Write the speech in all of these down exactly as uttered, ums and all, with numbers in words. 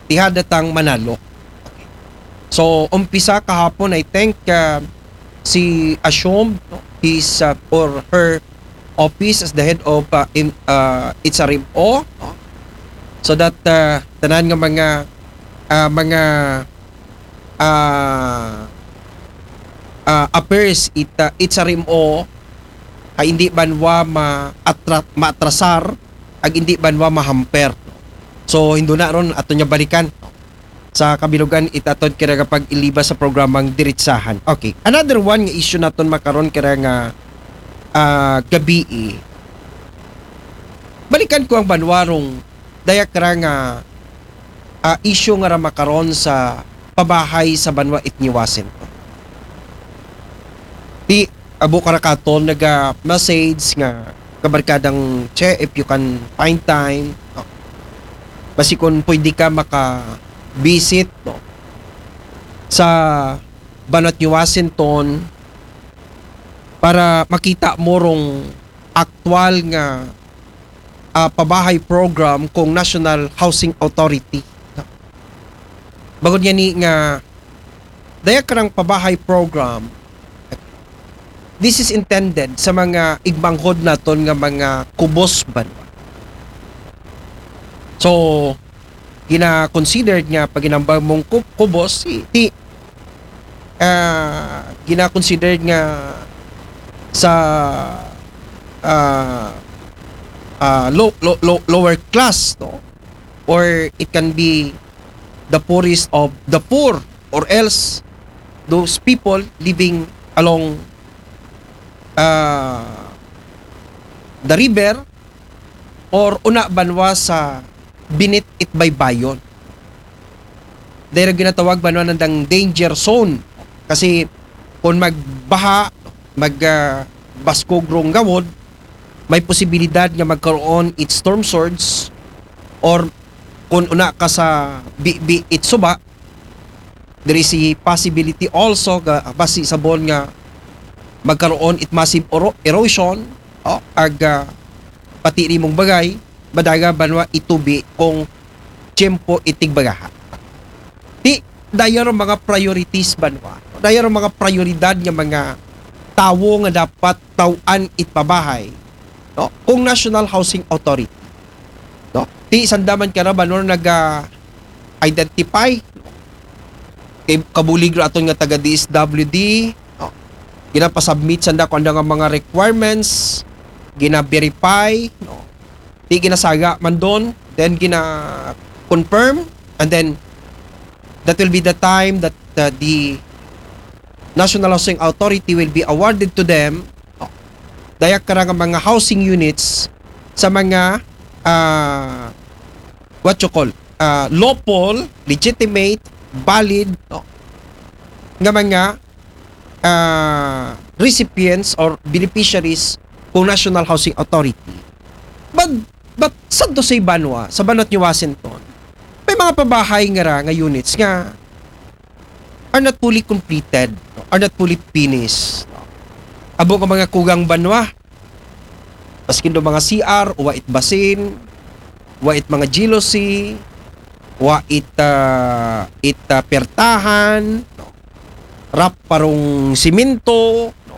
ti hada tang manalo. So, umpisa kahapon, I think, uh, si Ashom, no, his, uh, or her office as the head of, uh, in, uh, H R M O, no? So that, uh, tanan nga mga, uh, mga, uh, uh, affairs it, uh, H R M O ay hindi banwa ma-atra-, maatrasar, ag hindi banwa mahamper. So, hinduna ron, ato niya balikan sa kabilugan it aton kira nga pag-iliba sa programang Diritsahan. Okay. Another one nga issue naton makaron kira nga, ah, gabii. Balikan ko ang banwa rong daya kira nga, ah, issue nga ra makaron sa pabahay sa banwa it ni Washington. Di, abo kara katon naga-message nga kabarkadang Che, if you can find time, no? Basi kung pwede ka maka-visit, no, sa banwa it ni Washington para makita mo rong aktual nga, ah, pabahay program kung National Housing Authority. Bangod ngani nga daya karang pabahay program, this is intended sa mga igmanghod naton nga mga kubos banwa. So, gina-considered nga pag ginambag mong kub-, kubos, ti, ti, ah, gina-considered nga sa, ah, ah, low, low, low, lower class, no? Or it can be the poorest of the poor, or else those people living along, ah, the river or una banwa sa binit it baybayon. Dahil ginatawag banwa nandang danger zone. Kasi kung magbaha, mag, ah, baskog rong gawod, may posibilidad nga magkaroon it storm surge or kung una ka sa bibi it suba, there is a possibility also ga basi sabon nga magkaroon it massive ero-, erosion, o, ag, ah, pati rimong bagay, madaga banwa itubi kung tiyempo itig bagaha. Ti, dayar mga priorities banwa. Dayar mga prioridad nga mga tawo nga dapat taw-an it pabahay, no? Kung National Housing Authority, no? Ti, sanda man kara banwa naga-identify, kay kabulig ra aton nga taga D S W D, no? Ginapasubmit sanda kung ano nga mga requirements, gina-verify, no? Ti ginasaga man don, then gina-confirm, and then that will be the time that, uh, the National Housing Authority will be awarded to them, no? Daya kara nga mga housing units sa mga, ah, what you call, ah, lawful, legitimate, valid, no, nga mga, ah, recipients or beneficiaries kung National Housing Authority. But, but sad to say banwa, sa banwa ni Washington, may mga pabahay nga ra nga units nga are not fully completed, no, are not fully finished, no. Abo nga mga kugang banwa, maskin do mga C R, wa it basin, wa it mga G L C, wa it, ah, it, ah, pertahan, no? Rap parong simento, no?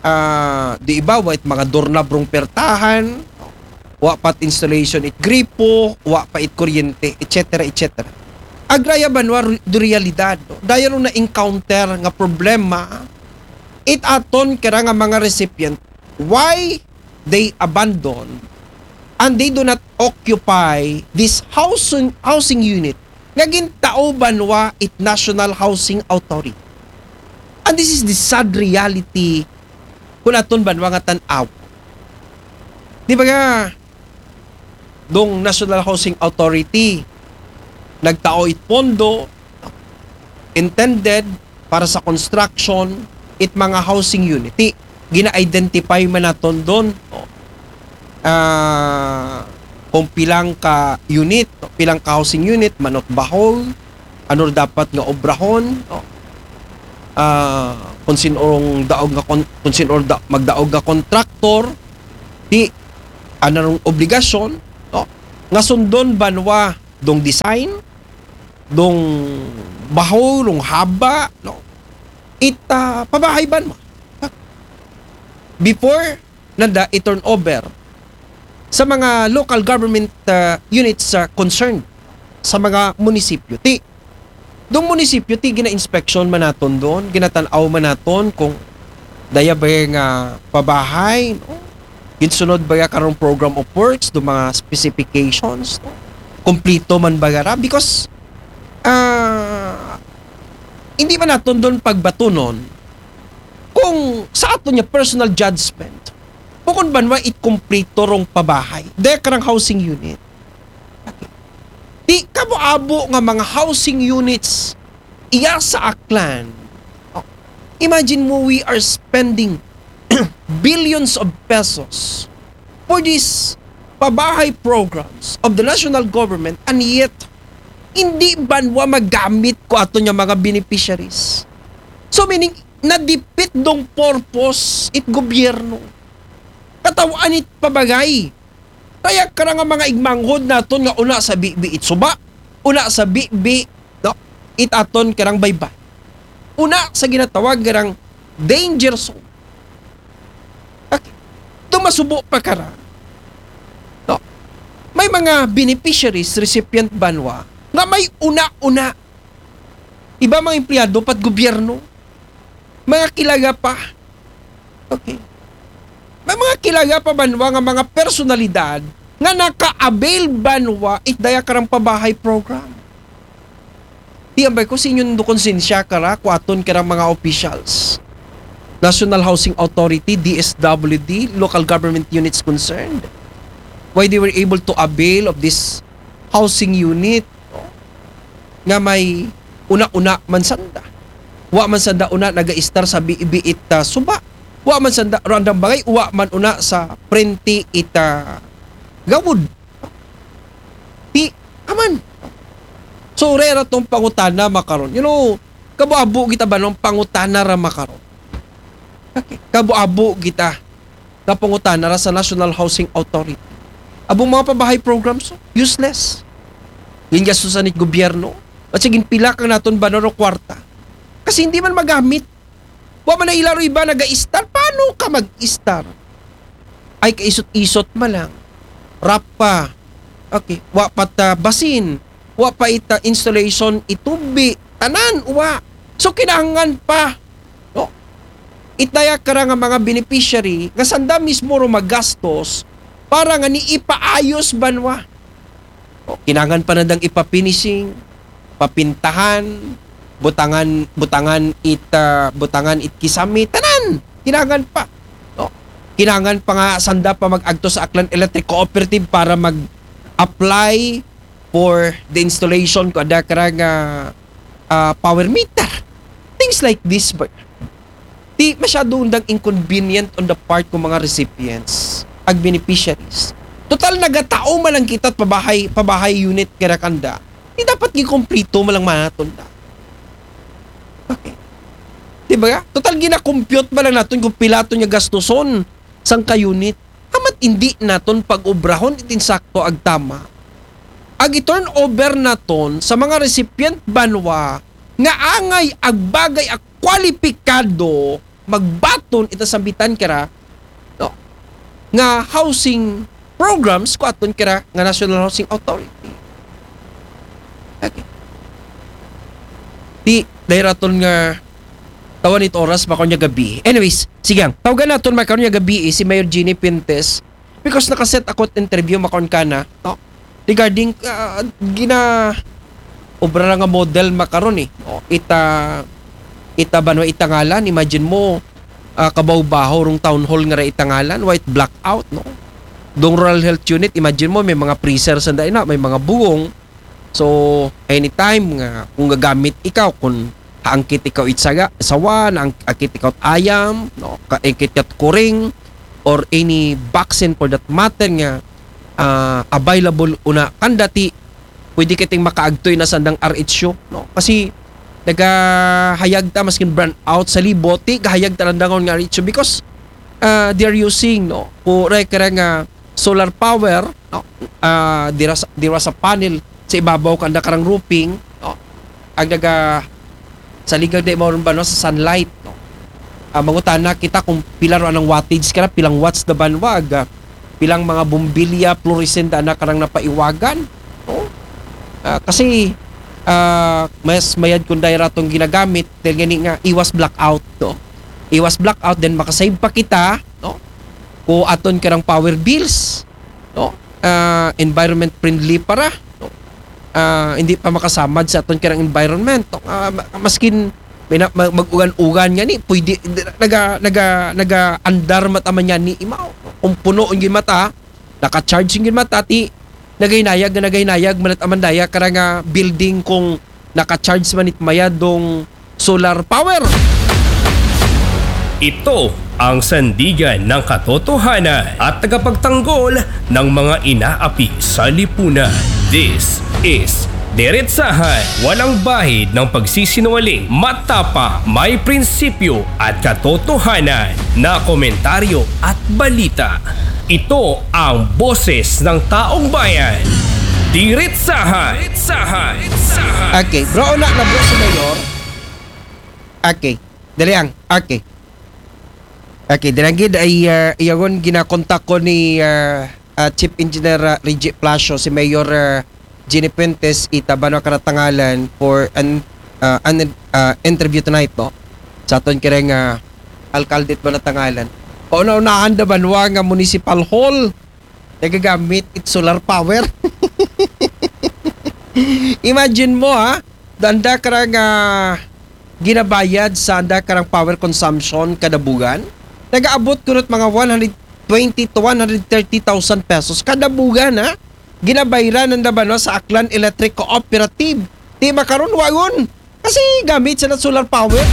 Ah, di iba, wa it mga doorknob rong pertahan, no? Wa pa it installation it gripo, wa pa it kuryente, et cetera, et cetera. Agraya banwa ru-, do realidad, no? Daya ron na-encounter nga problema, it aton kira nga mga recipient, why they abandon and they do not occupy this housing, housing unit nga gintao banwa it National Housing Authority. And this is the sad reality kung aton banwa nga tan-aw. Di ba nga, dong National Housing Authority, nagtao it pondo, intended para sa construction, it mga housing unit. Ti, gina-identify man naton don, o, ah, kung pilang ka unit, no, pilang ka housing unit, manot bahol, ano dapat nga obrahon, no? Ah, kung sinong daog nga kon-, kung sinong da-, magdaog nga kontraktor, ti, ano rong obligasyon, no? Nga sundon banwa dong design, dong baho, dong haba, no? It, ah, pabahay banwa. Before nanda i-turnover sa mga local government, ah, units, ah, concerned sa mga munisipyo. Ti, dong munisipyo, ti gina-inspection man naton don, ginatan-aw man naton kung daya ba nga pabahay, no? Ginsunod ba ya karong program of works, dong mga specifications, no? Kumplito man ba ra? Because, ah, hindi man naton don pagbatunon kung sa aton nga personal judgment, bukod banwa it kumplito rong pabahay, daya karang housing unit. Ti, kabo-abo nga mga housing units iya sa Aklan. Oh, imagine mo, we are spending billions of pesos for these pabahay programs of the national government, and yet hindi banwa magamit ko aton nga mga beneficiaries. So meaning, nadipit dong purpose it gobyerno. Katawan it pabagay. Kaya karang mga igmanghod naton nga una sa bibi it suba, una sa bibi, no, it aton karang baybay. Una sa ginatawag karang danger zone. Okay. Ito masubo pa kara. No? May mga beneficiaries, recipient banwa, nga may una-una. Iba mga empleyado pat gobyerno. Mga kilaga pa. Okay. May mga kilaga pa banwa nga mga personalidad nga naka-avail banwa it daya karang pabahay program. Ti ambay ko, sa inyo do konsensya kara, kuaton karang mga officials. National Housing Authority, D S W D, local government units concerned. Why they were able to avail of this housing unit, no? Nga may una-una man sanda. Wa man sanda una naga-istar sa bibi it, ah, suba. Wa man sanda, randang bagay, wa man una sa prente it, ah, gawod. Ti, aman. So, rera tong pangutana makaron. You know, kabo-abo kita ba nung pangutana ra makaron? Okay. Kabo-abo kita nga pangutana ra sa National Housing Authority. Abong mga pabahay programs, useless. Gingastusan it gobyerno. At sige, pila kang naton ba na ro kwarta? Kasi hindi man magamit. Wa man na ila ro iba naga-istar. Paano ka mag-istar? Ay, kaisot-isot man lang. Rap pa. Okay. Wa pa ta basin. Wa pa ita installation, itubi. Tanan, wa. So, kinahanglan pa. No? Itaya kara nga mga beneficiary, nga sanda mismo ro magastos para nga ni ipaayos banwa. O, kinahanglan pa nandang ipa-finishing, papintahan, butangan, butangan it, ah, butangan it kisame, tanan. Kinahanglan pa. No? Kinahanglan pa nga sanda pa mag-agto sa Aklan Electric Cooperative para mag-apply for the installation ko ada kara nga, ah, power meter. Things like this ba? Ti masyado undang inconvenient on the part ko mga recipients, ag beneficiaries. Total, nagatao man lang kita pabahay, pabahay unit kara kanda. Di dapat gikumplito man lang manaton da. Okay. Di ba? Total, gina-compute man lang naton kung pila to niya gastuson sang ka-unit. Amat hindi naton pag-obrahon it insakto ag tama. Ag i-turn over naton sa mga recipient banwa nga angay ag bagay ag kwalipikado magbaton ita sambitan kara, no, nga housing programs ko aton kara nga National Housing Authority. Okay. Di, dahil raton nga tawan it oras, makaon niya gabi. Anyways, sige, ang tawagan naton makaon niya gabi, eh, si Mayor Jeannie Pintes, because nakaset ako at interview makaon ka na, no? Regarding, ah, gina obra nga model makaron, eh. No? Ita, ita banwa ita ngalan, imagine mo, ah, kabaw-baho rong town hall nga ra ita ngalan, white blackout, no? Dong rural health unit, imagine mo, may mga freezer sanda ina, may mga buwong. So, anytime nga kung gagamit ikaw, kung haangkit ikaw it saga, sawa, naangkit ikaw it ayam, no, kaangkit ikaw it kuring, or any vaccine for that matter nga, ah, available una kanda, ti pwede kiting makaagtoy na sandang R H U, no? Kasi nagahayag ta, maskin brownout sa Liboti, gahayag ta lang dangon nga R H U because, ah, they are using, no, kung rekara nga solar power, no, ah, dira sa, dira sa panel, sa ibabaw kanda karang roofing, no? Ag naga, sa ligaw di mauron ba, no, sa sunlight, no? Ah, mangutana kita kung pila ro anang wattage kara, pilang watts da banwa, ag, ah, pilang mga bombilya, fluorescent da na karang napaiwagan, no? Ah, kasi, ah, mas mayad kung dahil ratong ginagamit, dahil gani nga iwas blackout, no? Iwas blackout, then makasave pa kita, no? Kung aton karang power bills, no? Ah, environment friendly para, no? Ah, hindi pa makasamad sa aton karang environment, no? Ah, ma-, maskin may na-, ma-, mag-ugan-ugan nga ni, pwede, naga, naga, naga andar mataman yan ni imaw. Kung puno ang mata, naka-charge ang mata, ti nagahinayag, nagahinayag, manat amandaya, karang, ah, building kung naka-charge man it mayad dong solar power. Ito ang sandigan ng katotohanan at tagapagtanggol ng mga inaapi sa lipunan. This is Diretsahan, walang bahid ng pagsisinungaling, matapang, may prinsipyo at katotohanan na komentaryo at balita. Ito ang boses ng taong bayan. Diretsahan. Diretsahan. Diretsahan. Okay, bro, una na bro si Mayor. Okay, dali ang. Okay. Okay, dali ang gid ay uh, iyagon ginakontak ko ni uh, uh, Chief Engineer uh, Reggie Palacio, si Mayor uh, Jenny Fuentes, ita banwa karatangalan for an, uh, an uh, interview tonight, no? Sa aton karang uh, alkalde it banwa tangalan. Kauna-unahan da banwa nga municipal hall nagagamit it solar power. Imagine mo ha, danda karang uh, ginabayad sa anda karang power consumption kada bugan. Nagaabot kunot mga one hundred twenty to one hundred thirty thousand pesos kada bugan ha. Ginabayran nanda banwa sa Aklan Electric Cooperative. Di ba karon wagon? Kasi gamit sa solar power.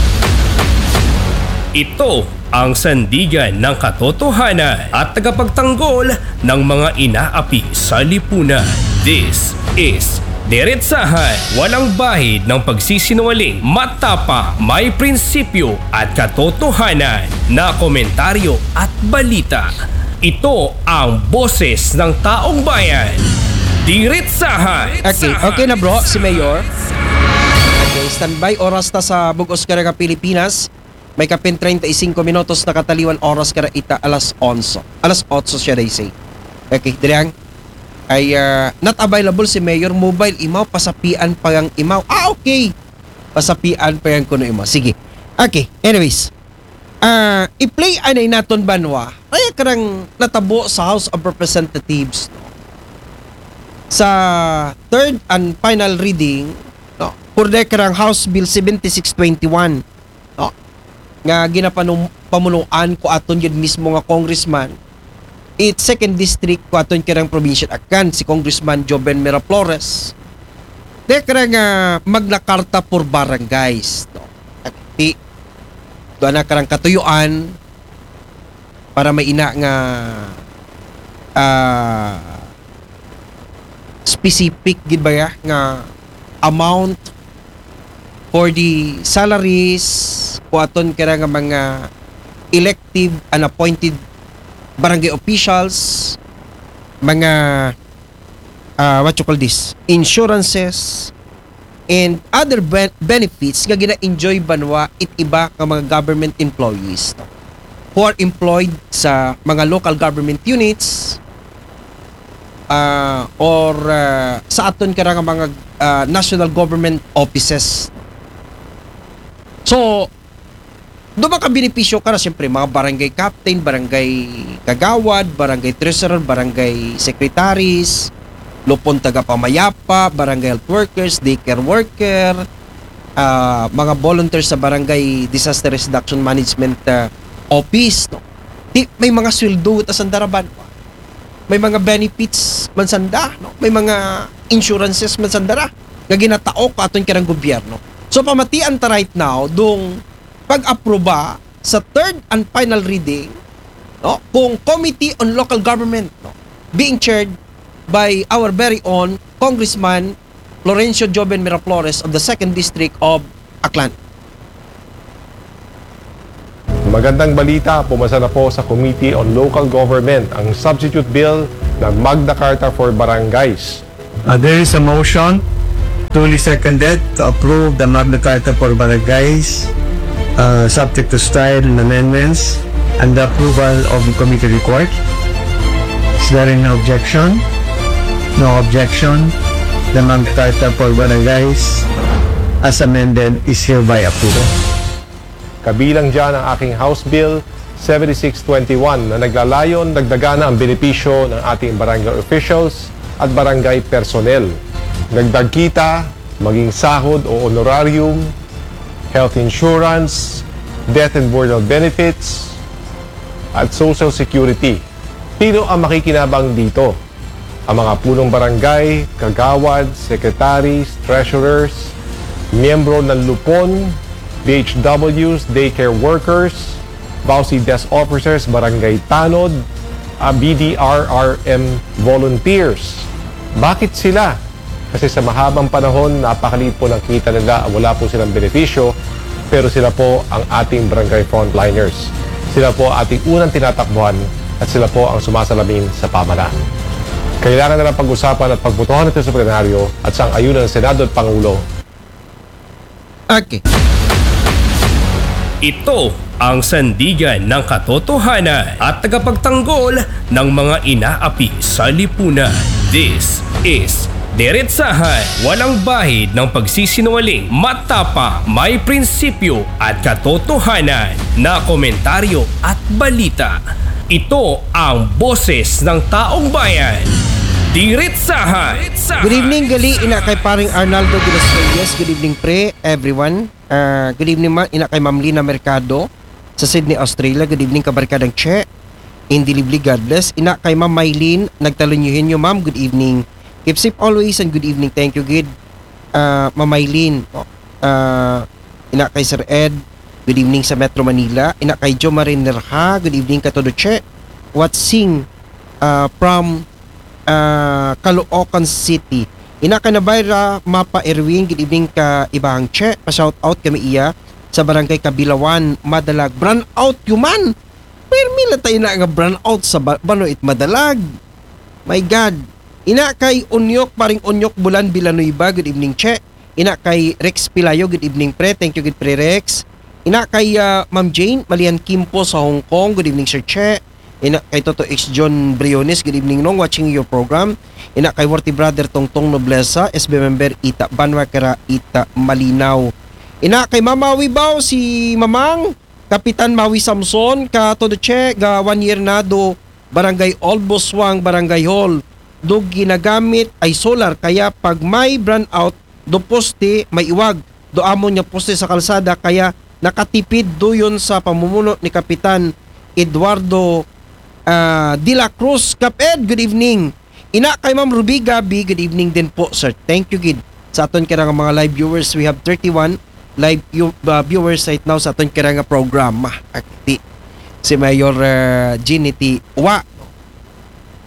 Ito ang sandigan ng katotohanan at tagapagtanggol ng mga inaapi sa lipunan. This is Diretsahan, walang bahid ng pagsisinungaling, matapang, may prinsipyo at katotohanan na komentaryo at balita. Ito ang boses ng taong bayan. Diretsahan. Okay, okay na bro, si Mayor. Okay, standby. Oras ta sa bug-os karang Pilipinas. May kapin treinta y cinco minutos na kataliwan oras kara ita alas onse. Alas otso siya, they say. Okay, diri ang ay uh, not available si Mayor mobile imaw, pasapian pa ang imaw. Ah, okay. Pasapian pa ang kuno imaw. Sige. Okay, anyways. Uh, i-play anay naton banwa. Kaya karang natabo sa House of Representatives, no? Sa third and final reading, no? Kurde karang House Bill seventy-six twenty-one, no? Nga ginapanum-, pamunuan ko aton yun mismo nga congressman. It second district ko aton karang probinsya Aklan, si Congressman Joven Miraflores. De karang uh, Magna Carta for Barangays, no? At di, doon na karang katuyuan para maina nga uh, specific gid ba ya nga amount for the salaries ko aton kara nga mga elective and appointed barangay officials, mga uh, what you call this, insurances, and other ben- benefits nga gina-enjoy banwa it iba nga mga government employees, no? Who are employed sa mga local government units uh, or uh, sa aton kara nga mga uh, national government offices. So, do makabenepisyo kara, siyempre, mga barangay captain, barangay kagawad, barangay treasurer, barangay secretaries, lupon tagapamayapa, barangay health workers, daycare worker, uh, mga volunteers sa barangay disaster risk reduction management uh, office, no? Di, may mga sweldo ta sanda ra banwa. May mga benefits man sanda, no? May mga insurances man sanda ra nga ginataok aton karang gobyerno. So pamatian ta right now dong pag-aproba sa third and final reading, no, kung Committee on Local Government, no, being chaired by our very own Congressman Florencio Joven Miraflores of the second District of Aklan. Magandang balita, pumasa na po sa Committee on Local Government ang substitute bill na Magna Carta for Barangays. Uh, there is a motion, duly seconded, to approve the Magna Carta for Barangays, uh, subject to style amendments and the approval of the committee report. Is there any objection? No objection. The Magna Carta for Barangays as amended is hereby approved. Kabilang dyan ang aking House Bill seventy-six twenty-one na naglalayon dagdagan ang benepisyo ng ating barangay officials at barangay personnel. Dagdag kita, maging sahod o honorarium, health insurance, death and burial benefits, at social security. Sino ang makikinabang dito? Ang mga punong barangay, kagawad, secretaries, treasurers, miyembro ng lupon, D H Ws, daycare workers, VAWC desk officers, barangay tanod, ah, B D R R M volunteers. Bakit sila? Kasi sa mahabang panahon, napakaliit po ng kita nila, wala po silang benepisyo, pero sila po ang ating barangay frontliners. Sila po ating unang tinatakbuhan at sila po ang sumasalamin sa pamahalaan. Kailangan na lang pag-usapan at pagbotohan ito sa plenaryo at sang ayunan ng Senado at Pangulo. Okay. Ito ang sandigan ng katotohanan at tagapagtanggol ng mga inaapi sa lipunan. This is Diretsahan, walang bahid ng pagsisinungaling, matapang, may prinsipyo at katotohanan na komentaryo at balita. Ito ang boses ng taong bayan. Diretsahan. Good evening, gali ina kay paring Arnaldo de los Reyes. Good evening, pre, everyone. Ah, good evening, ma, ina kay Ma'am Lina Mercado sa Sydney, Australia. Good evening, kabarkadang Che. Indilibli, God bless. Ina kay Ma'am Mylene, nagtalon nyo hinyo, ma'am. Good evening. Keep safe always and good evening. Thank you, gid. Ah, Ma'am Mylene. Oh, ah, ina kay Sir Ed. Good evening sa Metro Manila. Ina kay Jo Marin Nerha. Good evening, katodo Che. Watching ah, from ah, Caloocan City. Ina kay Navarra, Mapa Erwin, good evening ka ibahang Che. Pa-shout out kami iya sa Barangay Kabilawan, Madalag. Brownout yuman. Permi la ta ina nga brownout sa ba- bano it Madalag. My God. Ina kay Unyok, paring Unyok Bulan Villanueva, good evening, Che. Ina kay Rex Pilayo, good evening, pre. Thank you, good pre Rex. Ina kay ah, Ma'am Jane, Malian Kimpo sa Hong Kong, good evening, Sir Che. Ina kay Toto X John Briones, good evening, Nong, watching your program. Ina kay Worthy Brother Tongtong Noblesa, S B member, ita Banwa kara, ita Malinaw. Ina kay Mama Wibaw, si Mamang, Kapitan Mawi Samson, katodo Che, ga one year na do, Barangay Old Buswang, Barangay Hall. Do ginagamit ay solar, kaya pag may brownout, do poste, may iwag. Do amon nga poste sa kalsada, kaya nakatipid do yun sa pamumuno ni Kapitan Eduardo ah, De La Cruz. Kap Ed, good evening. Ina kay Ma'am Ruby Gabi, good evening din po, sir. Thank you, gid. Sa aton kira nga mga live viewers, we have thirty-one live view- uh, viewers right now sa aton kira nga programa. Akti si Mayor uh, Jeannie T. Wa.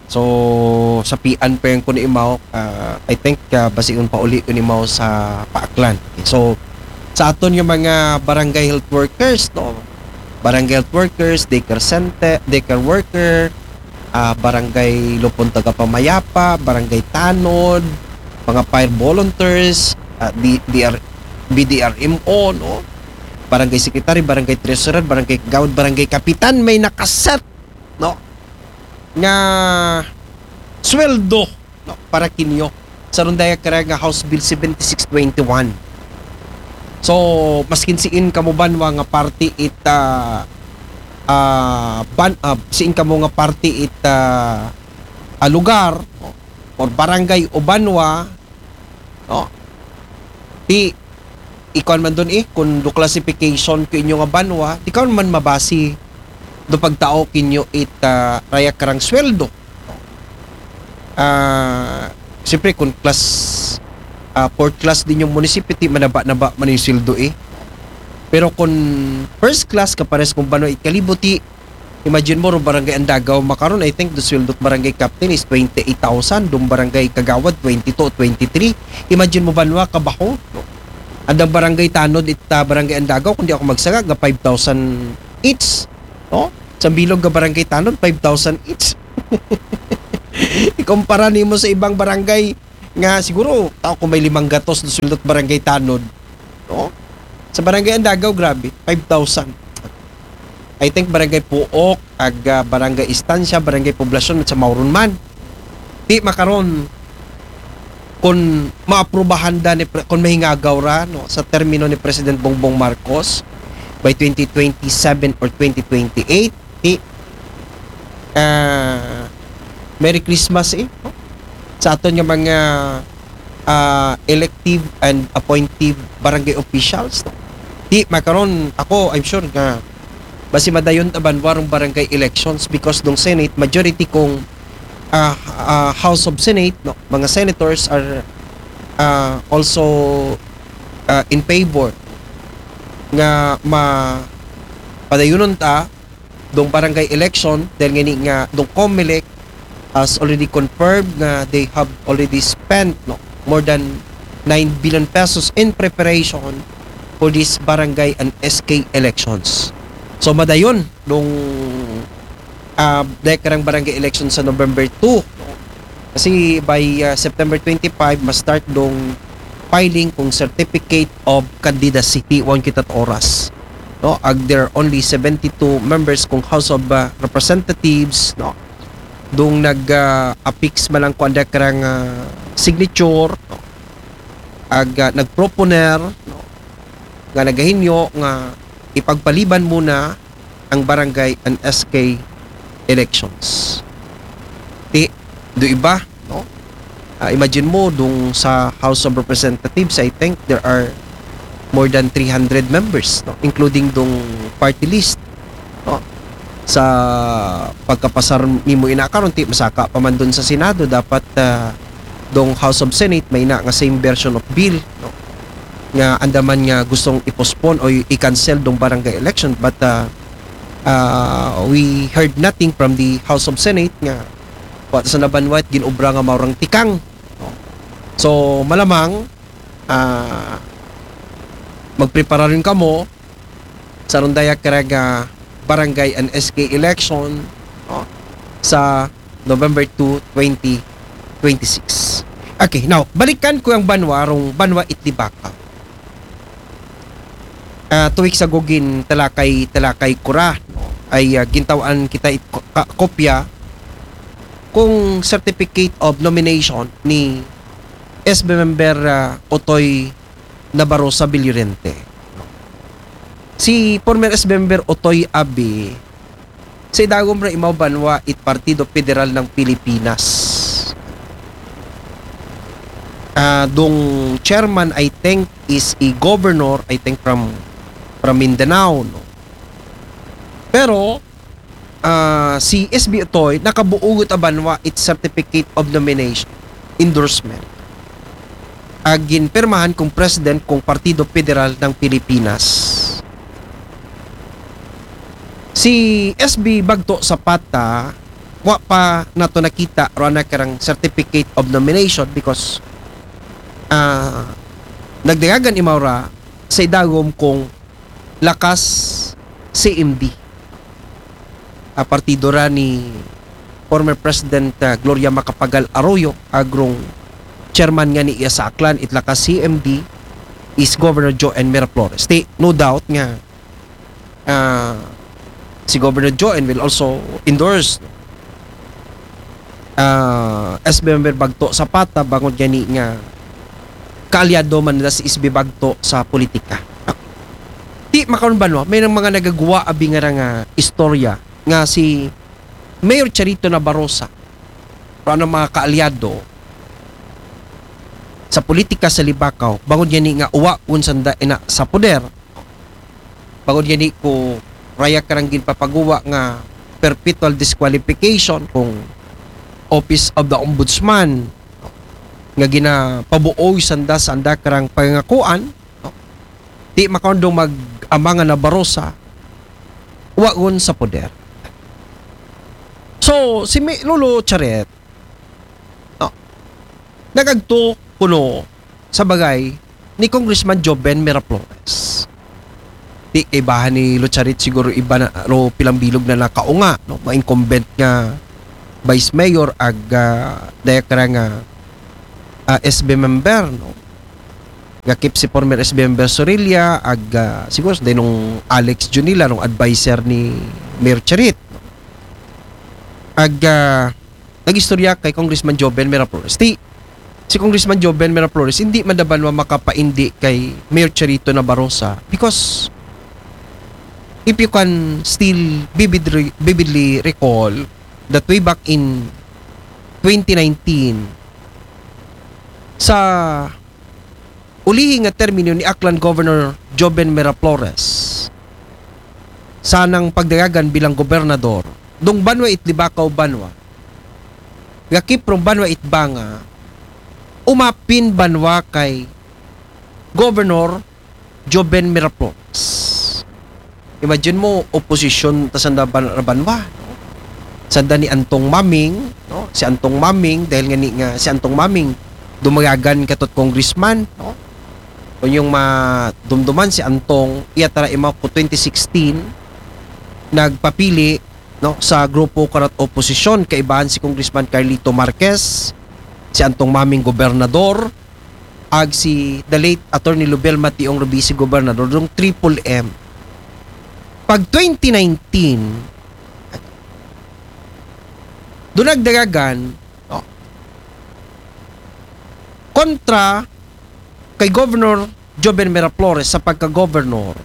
So, sapian pa yan ko ni Imaw. Uh, I think uh, basiun pa uli ko ni Imaw sa Paaklan. Okay, so, sa aton yung mga barangay health workers, no? Barangay health workers, daycare center, daycare worker, ah, barangay Lupon Tagapamayapa, barangay Tanod, mga fire volunteers, ah, D- D R, B D R M O, no? Barangay secretary, barangay treasurer, barangay kagawad, barangay kapitan, may nakaset, no? Nga sweldo, no? Para kinyo. Sa rundaya kara nga House Bill seventy-six twenty-one. So, maskin siin kamo banwa nga party it ah, ah, ban, ah, siin kamo nga party it ah, ah, lugar, no? Or barangay o banwa, no? Di ikuan man dun eh, kung do classification ko inyo nga banwa, di ka man mabasi do pagtao kinyo it ah, raya karang sweldo. Ah, siyempre kung class ah, fourth class din yung munisipyo, ti manaba-naba man yung sweldo eh. Pero kung first class ka pares kung banwa it kalibuti, imagine mo, ro barangay Andagaw makaron, I think the sweldo barangay captain is twenty-eight thousand, dong barangay kagawad twenty-two, twenty-three. Imagine mo banwa kabaho, no? Andang barangay Tanod it ah, barangay Andagaw, kung di ako magsaga, ga five thousand each, no? Sa bilog ga barangay Tanod, five thousand each. Ikumpara nimo sa ibang barangay, Nga siguro, tao kung may limang gatos na sweldo't barangay tanod, no? Sa barangay Andagaw, grabe, five thousand. I think barangay Puok, ag, ah, barangay Estancia, barangay Poblacion, sa Mauron man. Ti makaron, kung maaprubahan da ni Pre-, kung mahingagaw ra, no, sa termino ni President Bongbong Marcos by twenty twenty-seven or twenty twenty-eight, ti, ah, Merry Christmas, eh, no? Sa aton nga mga, ah, elective and appointive barangay officials, no? Ti makaron, ako, I'm sure nga basi madayon ta banwa rong barangay elections because dong Senate, majority kong, ah, ah, House of Senate, no, mga senators are, ah, also, ah, in favor nga ma-, padayunon ta dong barangay election dahil ngani nga dong Comelec has already confirmed nga they have already spent, no, more than nine billion pesos in preparation for this barangay and S K elections. So madayon dong, ah, dahil karang barangay election sa November two. Kasi by, ah, September twenty-five, ma-start dong filing kung certificate of candidacy, ti wan kita't oras. No, ag there are only seventy-two members kung House of, ah, Representatives, no. Dong nag, ah, affix man lang kung anda karang, ah, signature, no. Ag, ah, nagproponer, no, nga nagahinyo nga ipagpaliban muna ang barangay and S K elections. Ti, do iba, no? Ah, imagine mo, dong sa House of Representatives, I think there are more than three hundred members, no? Including dong party list, no? Sa pagkapasar nimo ina karon, ti masaka pa man dun sa Senado, dapat, ah, dong House of Senate, may na nga same version of bill, no? Nga andaman nga gustong i-postpone o i-cancel dong barangay election, but, ah, ah, we heard nothing from the House of Senate nga wa sa nabanwat ginobra nga maurang tikang. No? So, malamang, ah, magprepara rin kamo sa rondaya karag, ah, barangay and S K election, no? Sa November two, twenty twenty-six. Okay, now, balikan ko ang banwa, rong banwa Itlibaca. Ah, two weeks ago, gin talakay, talakay ko ra, no? Ay, ah, gintawan kita it ko-, ka-, kopya kung certificate of nomination ni S B member, ah, Otoy Nabarosa Villorente. Si former S B member Otoy abi, sa idagom ra imaw banwa it Partido Federal ng Pilipinas. Ah, dong chairman, I think, is a governor, I think, from, from Mindanao, no? Pero, ah, si S B Otoy, nakabuugot a banwa it certificate of nomination, endorsement. Ag ginpirmahan kung president kung Partido Federal ng Pilipinas. Si S B Bagto Zapata, wa pa nato nakita ro ana karang certificate of nomination because, ah, nagdagagan imaw ra sa idagom kung lakas C M D. Ah, partido ra ni former President, ah, Gloria Macapagal Arroyo, ag rong chairman ngani iya sa Aklan, it lakas C M D is Governor Joan Miraflores. Ti, no doubt nga, ah, si Governor Joan will also endorse, ah, S B member Bagto Zapata bangod gani nga kaalyado man na si S B Bagto sa politika. Ti makaron banwa, may nang mga nagagwa abi nga ra nga istorya nga si Mayor Charito Nabarosa, pero ang mga kaalyado sa politika sa Libakaw, bangod gani nga uwa kun sanda ina sa poder, bangod gani ko raya karang ginpapaguwa nga perpetual disqualification kung Office of the Ombudsman nga ginapabuoy sanda sa anda karang pangakuan, no? Ti makaundong mag-ama nga Nabarosa, wa gun sa poder. So, si Mi-, Lolo Charet, no, nagagto kuno sa bagay ni Congressman Joven Miraflores. Ti kaibahan ni Lolo Charet siguro iba na, ro pilang bilog na nakaunga, no? Mga incumbent nga vice mayor ag, ah, daya kara nga ah, S B member, no? Gakip si former S B member Sorilla, ag, ah, siguro sa nung Alex Junila, nung adviser ni Mayor Charit, no? Ag, ah, nag-istorya kay Congressman Joven Miraflores. Ti, si Congressman Joven Miraflores, hindi man da banwa makapaindi kay Mayor Charito Nabarosa because if you can still vividly, vividly recall that way back in twenty nineteen, sa ulihi nga termino ni Aklan Governor Joven Miraflores, sanang pagdagagan bilang gobernador, dung banwa it Libacao banwa, gakip rung banwa it Banga, umapin banwa kay Governor Joven Miraflores. Imagine mo, oposisyon ta sanda ban-, ra banwa, no? Sanda ni Antong Maming, no? Si Antong Maming, dahil nga ni, nga si Antong Maming, dumagagan katot congressman, no? Kung yung madumduman si Antong, iya tara ima ko twenty sixteen, nagpapili, no, sa grupo karat oposisyon, kaibahan si Congressman Carlito Marquez, si Antong Maming gobernador, ag si the late Attorney Lubel Mationg Rubisi gobernador, dung triple M. Pag twenty nineteen, dunagdagagan, no, kontra kay Governor Joven Miraflores sa pagka-governor,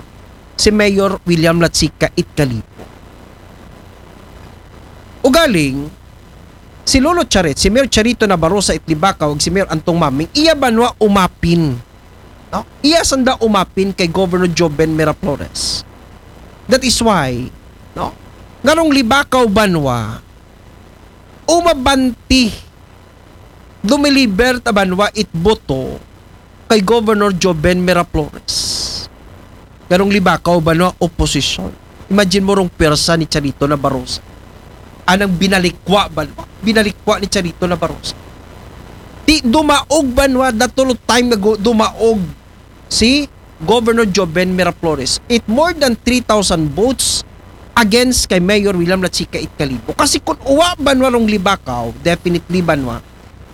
si Mayor William Lachica it Kalibo. Ugaling, si Lolo Charit, si Mayor Charito Nabarosa it Libacao, ag si Mayor Antong Maming, iya banwa umapin. No? Iya sanda umapin kay Governor Joven Miraflores. That is why, no? Ngarong Libacao banwa, umabanti, dumiliber ta banwa it boto kay Governor Joven Miraflores. Ngarong Libacao banwa oposisyon. Imagine mo rung pwersa ni Charito Nabarosa. Anang binalikwa banwa, binalikwa ni Charito Nabarosa. Ti dumaog banwa, that all time ago, dumaog si Governor Joven Miraflores. It more than three thousand votes against kay Mayor William Lachica it Kalibo. Kasi kung uwa banwa rung Libacao, definitely banwa,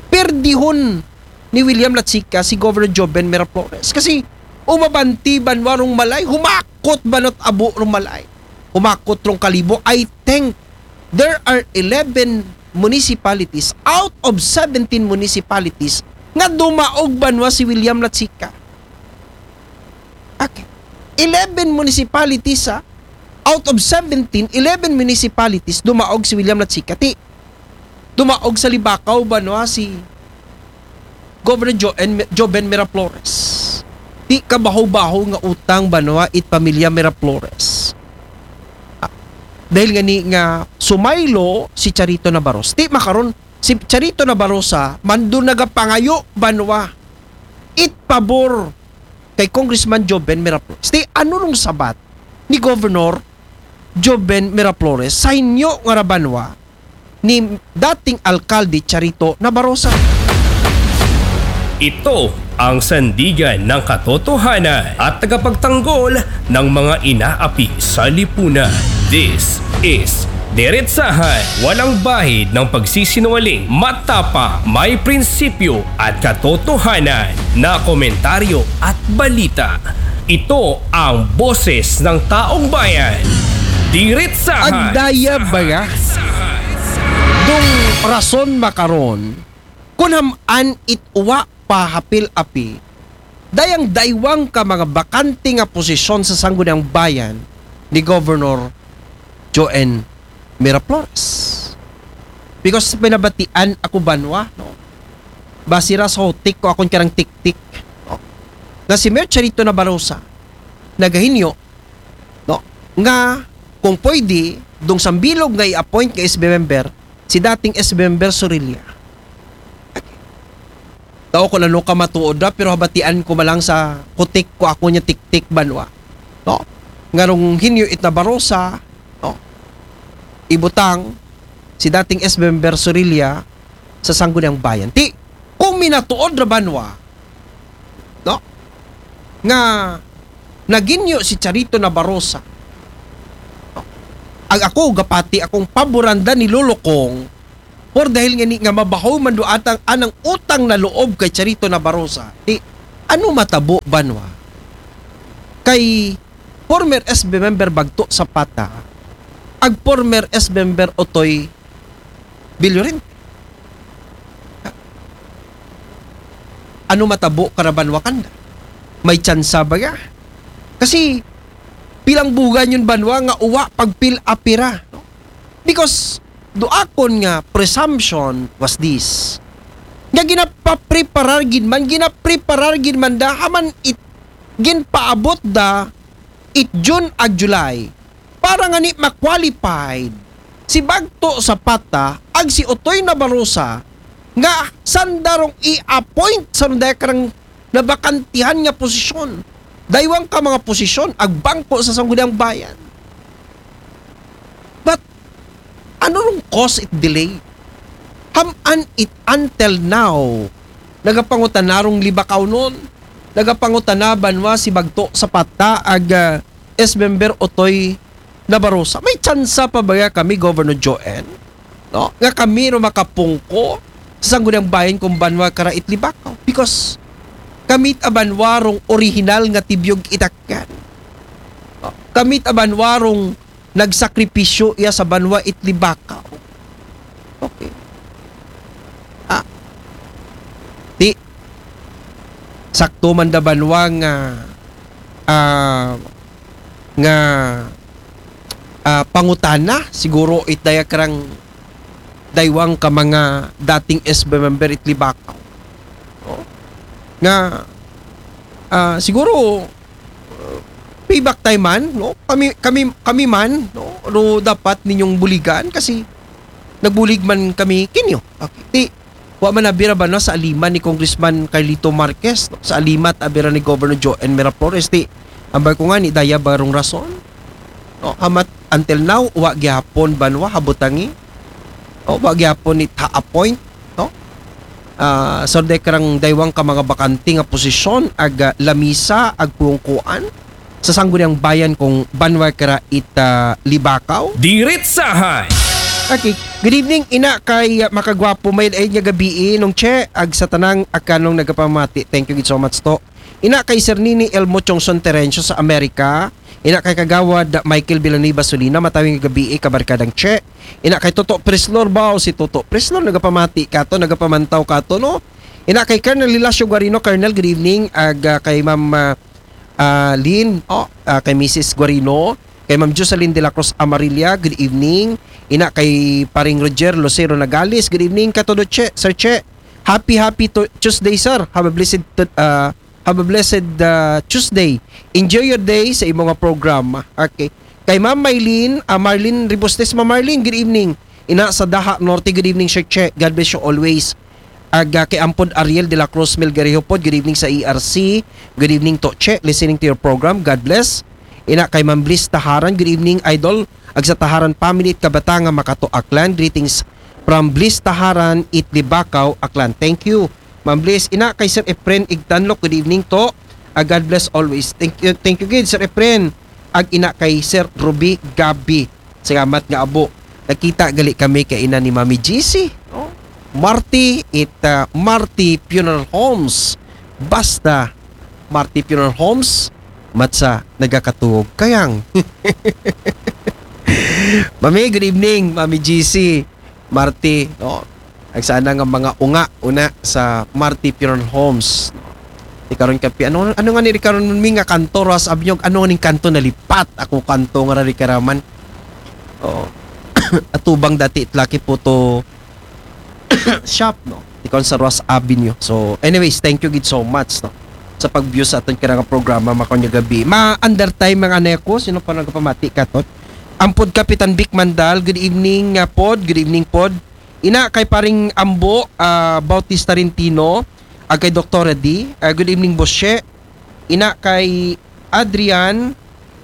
perdihon ni William Lachica si Governor Joven Miraflores. Kasi umabanti banwa rung Malay, humakot banwa it abo rung Malay. Humakot rung Kalibo. I think there are eleven municipalities out of seventeen municipalities nga dumaog banwa si William Lachica. Okay. Eleven municipalities, ha? Out of seventeen, eleven municipalities dumaog si William Lachica. Ti, dumaog sa Libacao banwa si Governor Joven, Joven Miraflores. Ti kabaho-baho nga utang banwa it pamilya Miraflores. Ah, dahil nga ni nga sumaylo si Charito Nabarosa. Ti makaron, si Charito Nabarosa, mando nagapangayo banwa it pabor kay Congressman Joven Miraflores. Ti ano rung sabat ni Governor Joven Miraflores sa hinyo nga ra banwa ni dating alkalde Charito Nabarosa? Ito ang sandigan ng katotohanan at tagapagtanggol ng mga inaapi sa lipunan. This is Diretsahan, walang bahid ng pagsisinungaling, matapang, may prinsipyo at katotohanan na komentaryo at balita. Ito ang boses ng taong bayan. Diretsahan. Agdaya baya. Dung rason makaron, kun ham-an it uwa pa hapil api, dayang daywang ka mga bakante nga posisyon sa Sangguniang Bayan ni Governor Joven Miraflores. Because pinabatian ako banwa, no? Basira sa hotik ko akon karang tiktik, no? Nga si Mayor Charito Nabarosa, nagahinyo, no? Nga, kung pwede, dung sambilog nga i-appoint nga S B member, si dating S B member Sorilla. Tao ko lalo ka matuod ra, pero habatian ko malang sa kutik ko ako niya tiktik banwa. No? Ngarong hinyo it Nabarosa, no? Ibutang si dating S B member Sorilla sa Sangguniang Bayan. Ti, kung minatuod ra banwa, no? Nga naginyo si Charito Nabarosa. No? Ag ako, gapati akong paboranda ni Lolo Kong, Or dahil nga ni nga mabahaw man do atang anang utang na loob kay Charito Nabarosa. Ti, ano matabo banwa? Kay former S B member Bagto Zapata, ag former S B member Otoy Billorin. Ano matabo kara banwa kanda? May tsansa ba ya? Kasi pilang bugan yun banwa nga uwa pagpil apira, no? Because do akon nga presumption was this. Nga ginapapreparar gid man, ginapreparar gid man da, haman it, ginpaabot da it June ag July para nga ni ma-qualified si Bagto Zapata ag si Otoy Nabarosa nga sandarong i-appoint sa rong daya karang nabakantihan nga posisyon. Daywang ka mga posisyon, ag bangko sa Sangguniang Bayan. But, ano rong cause it delay? Haman it until now, nagapangutana rong Libacao non, nagapangutana banwa si Bagto Zapata ag ah, S member Otoy Nabarosa. May tsansa pa ba ya kami, Governor Joen? No? Nga kami ro makapungko sa Sangguniang Bayan kung banwa kara it Libacao. Because kami it a banwa rong orihinal nga tibyog itakyan. No? Kami it a banwa rong nagsakripisyo iya sa banwa it Libacao. Okay. Ah. Ti, sakto man da banwa nga, ah, nga, ah, pangutana, siguro it daya karang daywang ka mga dating S B member it Libacao. No? Nga, ah, siguro, uh, payback time man, no? Kami, kami, kami man, no? Ro dapat ninyong buligan kasi nagbulig man kami kinyo. Okay. Ti, wa man abira banwa sa aliman ni Congressman Carlito Marquez, no? Sa alimat abira ni Governor Joen Miraflores, ti, ambay ko nga ni daya barong rason. No? Hamat until now, wa gihapon banwa habutangi. O, wa gihapon it ha-appoint, no? Ah, so, de karang daywang ka mga bakante nga posisyon, ag, ah, lamisa, ag pungkuan sa Sangguniang Bayan kung banwa kara it, ah, Libacao. Diritsahan. Okay. Good evening, ina kay, ah, Makagwapo, may ay nga gabii, nung Che, ag sa tanang akanong nagapamati. Thank you so much to. Ina kay Sir Nini Elmo Chongson Terencio sa Amerika. Ina kay Kagawad Michael Villanueva Solina, matawing gabii, kabarkadang Che. Ina kay Toto Preslor ba, o si Toto Preslor, nagapamati kato, nagapamantaw kato, no? Ina kay Colonel Lilasio Guarino, Colonel, good evening. Ag, ah, kay Ma'am, ah, ah, Lynn, oh, ah, kay Missus Guarino, kay Ma'am Jocelyn de la Cruz Amarilla, good evening. Ina kay Paring Roger Lucero Nagales, good evening. Katodo Che, Sir Che, happy, happy to Tuesday, sir. Have a blessed, uh, have a blessed, uh, Tuesday. Enjoy your day sa imo nga programa. Okay. Kay Ma'am Maylene, ah, Marlene Ribustes, Ma'am Marlene, good evening. Ina sa Daha Norte, good evening, Sir Che. God bless you always. Aga kay Ampod Ariel de la Cruz Melgarejo pod, good evening sa E R C. Good evening to Che, listening to your program. God bless. Ina kay Ma'am Bliss Taharan, good evening, Idol. Ag sa Taharan family it kabata nga makato Aklan. Greetings from Bliss Taharan, it Libacao, Aklan. Thank you, Ma'am Bliss. Ina kay Sir Efren Igtanlok, good evening to. Ah, God bless always. Thank you, thank you gid, Sir Efren. Ag ina kay Sir Ruby Gabi. Salamat nga abo. Nakita gali kami kay ina ni Mami G C. Oh. Marty, it, ah, Marty Funeral Homes. Basta, Marty Funeral Homes, matsa nagakatuog kayang. Mami, good evening, Mami G C. Marty, no? Ag sana nga mga unga, una sa Marty Funeral Homes. Di karon kapi, ano, ano nga ni di karon mi nga kanto, Ras Abnyog, ano nga ning kanto nalipat? Ako kanto nga ra di karaman. Oo. Atubang dati it Lucky Photo Shop, no? Di karon sa Ross Avenue. So, anyways, thank you gid so much, no? Sa pag-view sa aton kira nga programa, makaon nga gabi. Ma-under time mga anay ko, sino pa nagpamati katon? Ampod Kapitan Vic Mandal, good evening nga pod, good evening pod. Ina kay paring Ambo, ah, Bautista Rentino, ag kay Doktora D. Ah, good evening, Boss Che. Ina kay Adrian,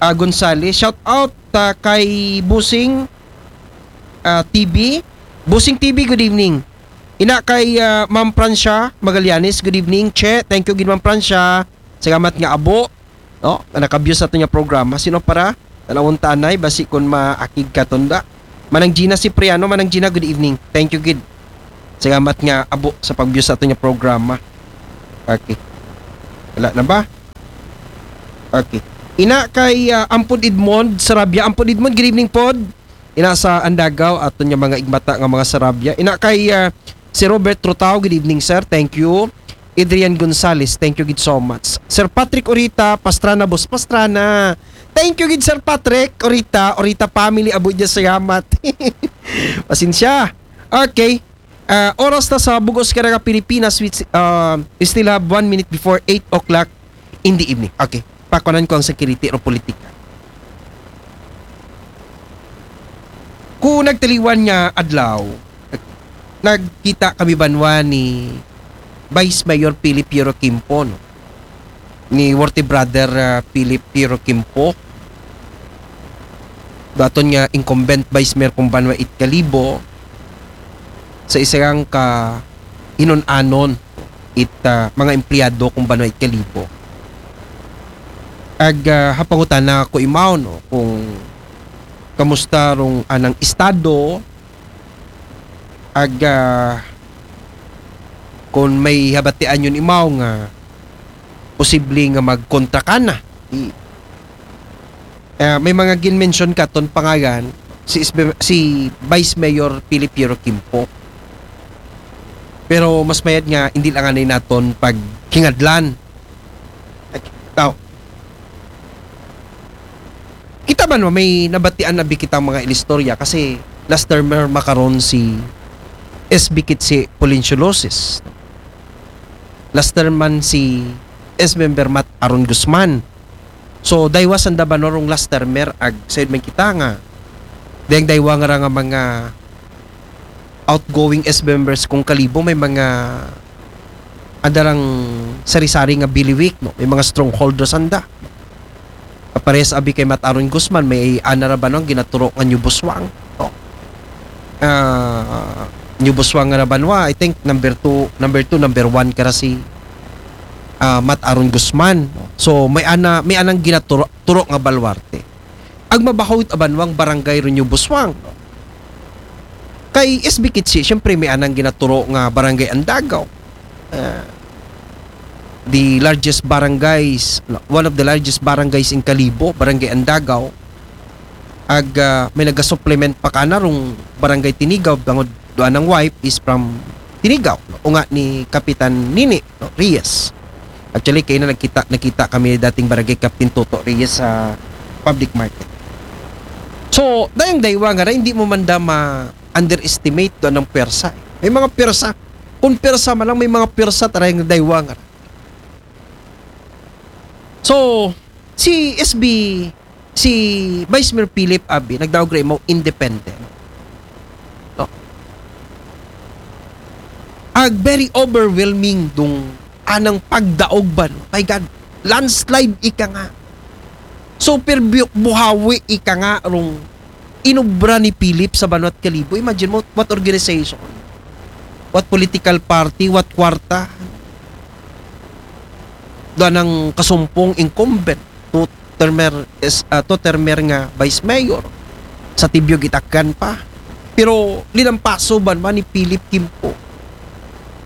ah, Gonzales. Shout out, ah, kay Busing, ah, T V. Busing T V, good evening. Ina kay, ah, Ma'am Francia Magallanes, good evening, Che. Thank you gid, Ma'am Francia. Salamat nga abo. No, nga naka-view sa aton nga programa. Sino para? Tanawon ta anay, basi kun maakig ka tunda. Manang Gina Cipriano, Manang Gina, good evening. Thank you gid. Salamat nga abo sa pag-view sa aton nga programa. Okay. Wala na ba? Okay. Ina kay ah, Ampon Edmond Sarabia. Ampon Edmond, good evening pod. Ina sa Andagaw, aton nga mga igmata nga mga Sarabia. Ina kay ah, si Robert Trotao, good evening sir. Thank you. Adrian Gonzales, thank you gid so much. Sir Patrick Orita, Pastrana, Boss Pastrana. Thank you gid Sir Patrick Orita, Orita family, abo dya, salamat. Pasensya. Okay. Ah, oras na sa bug-os kara nga Pilipinas, we, ah, we still have one minute before eight o'clock in the evening. Okay. Pakuanan ko ang security o politika. Kung nagtaliwan nga adlaw, nagkita kami banwa ni Vice Mayor Philip Piero Quimpo, no? Ni worthy brother ah, Philip Piero Quimpo. Daton nga incumbent Vice Mayor kung banwa it Kalibo sa isang ka inun-anon it ah, mga empleyado kung banwa it Kalibo. Ag ah, hapangutana ko imaw, no, kung kamusta rong anang estado, ag ah, kung may habatian yun imaw nga posible nga magkontra ka na. I, ah, may mga gin-mention katon pangalan si, S B, si Vice Mayor Philip Piero Quimpo. Pero mas mayad nga hindi lang anay naton paghingadlan. Tao. Kita man, may nabatian na bi kitang mga ilistorya kasi last termer makaron si S B Kitsi Polencio Loces. Last term man si S Member Matt Aaron Guzman. So, daywa sanda banwa rong last termer ag sayod man kita nga dayang daywa nga ra nga mga outgoing S members kung Kalibo, may mga andarang sari-sari nga biliwik, no? May mga stronghold ra sanda. Parehas abi kay Matt Aaron Guzman, may ana ra banwa nga ginaturo nga New Busuan, no? Ah, New Busuan nga ra banwa, I think number two, number two, number one kara si ah, Matt Aaron Guzman. So, may ana, may anang ginaturo turo nga baluarte. Ag mabahaw it banwang barangay ron New Busuan. Kay S B Kitsi, siyempre may anang ginaturo nga barangay Andagaw. Ah, the largest barangays, one of the largest barangays in Kalibo, Barangay Andagaw. Ag ah, may nagasupplement pa kana rong Barangay Tinigaw, bangod dua nang wife is from Tinigaw, no? Unga ni Kapitan Nini, no? Reyes. Actually, kay na nagkita, nagkita kami dating Barangay Captain Toto Reyes sa public market. So, dayang daywa nga ra, hindi mo man da ma-underestimate do anang pwersa. May mga pwersa. Kung pwersa man lang, may mga pwersa taray nga daywa nga ra. So, si S B, si Vice Mayor Philip abi, nagdaog ra imaw independent. No? Ag very overwhelming dong anang pagdaog ba, no? My God, landslide ika nga. Super bu- buhawi ika nga rong inubra ni Philip sa banwa't Kalibo. Imagine mo, what organization? What political party? What kwarta? Doon ang kasumpong incumbent. Two termer, is, ah, two termer nga vice mayor. Sa Tibiog Itakgan pa. Pero linampaso ba naman ni Philip Quimpo?